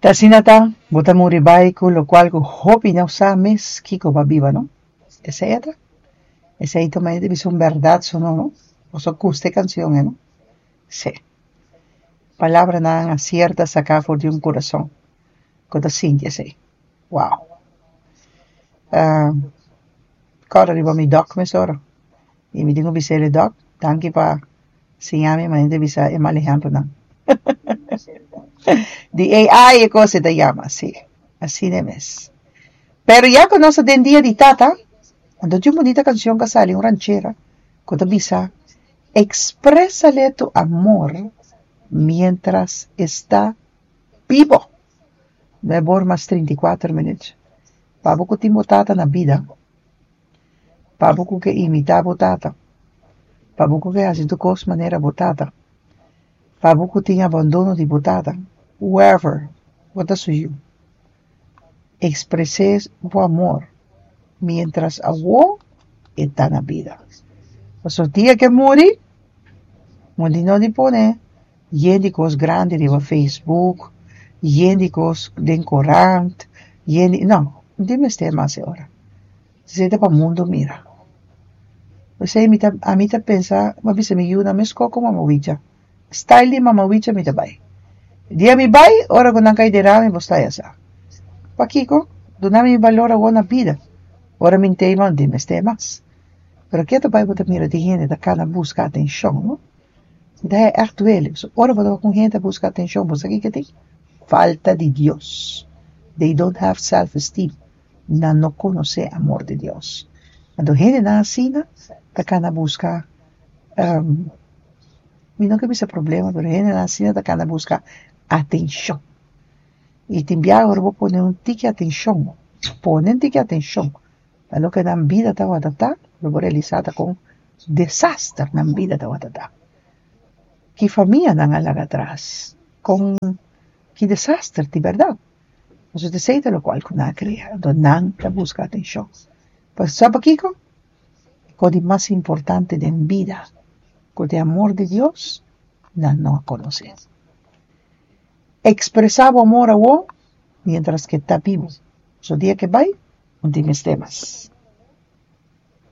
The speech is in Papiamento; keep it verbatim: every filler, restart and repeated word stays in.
Ta asina ta, bo ta muri bai ku lokual ku hopi no sa mes kiko bo a biba, no? Esei ta. Esei ta manera di bisa un bèrdat so no, no? Boso gusta e kanshon, no? Sí. Palabranan asierta saká for di un kurason ku ta sinti esei. Wow. Uh, kòrda riba mi dòk mesora. I mi tin ku bis'é, "Dòk, danki pa siña mi manera di bisa e mal ehèmpelnan." Di A I e kos ta yama, sí. Asina mes. Pero ya ku nos den dia di tata, anto tin un bunita kanshon ku a sali, un ranchera, ku ta bisa: "Exprésale tu amor mientras está vivo." Nuebe mas trinta i kuater minüt. Pa bo ku tin bo tata na bida. Pa bo ku ke imitá bo tata. Pa bo ku ke hasi tur kos manera bo tata. Pa bo ku tin abandono di bo tata. Whoever, bo ta su yu. Ekspresá bo amor mientras awor e ta na bida. Paso dia ku e muri, bo no di pone yen di kos grandi riba Facebook, yen di kos den korant, yen di, no, no tin mester mas ora. Esei ta pa mundu mira. Esei mi ta, ami ta pensa, m'a bisa mi yunan mes ku Mama Wicha. Style di Mama Wicha mi ta bai. Dia mi bai, ora ku nan kai derami, bo ta sa. Pakiko, duna mi balor awor na bida. Ora mi t'ei, no tin mester mas. Pero ketu bai bo ta mira di hende ta kana buska atenshon, no? Dat is echt duele. So, ora bo ku hende buska atenshon, bo sa kiko tin? Falta di Dios. They don't have self-esteem. Nan no konosé amor di Dios. Anto hendenan asina, ta kana buska um, mi no ke bisa problema, pero hendenan asina ta kana buska atenshon. I tin biaha ora bo pone un tiki atenshon, pone un tiki atenshon na loke nan bida tabata ta, lo bo realisá ta kon desaster nan bida tabata ta. Ki famianan a laga atras, kon ki desaster di bèrdat. Anto esei ta lokual ku nan a kria, anto nan ta buska atenshon. Pero sabi pakiko? Kos di mas importante den bida, ku e amor di Dios, nan no a konosé. Ekspresá amor awor, mientras ku e ta bibu. So dia ku e bai, no tin mas.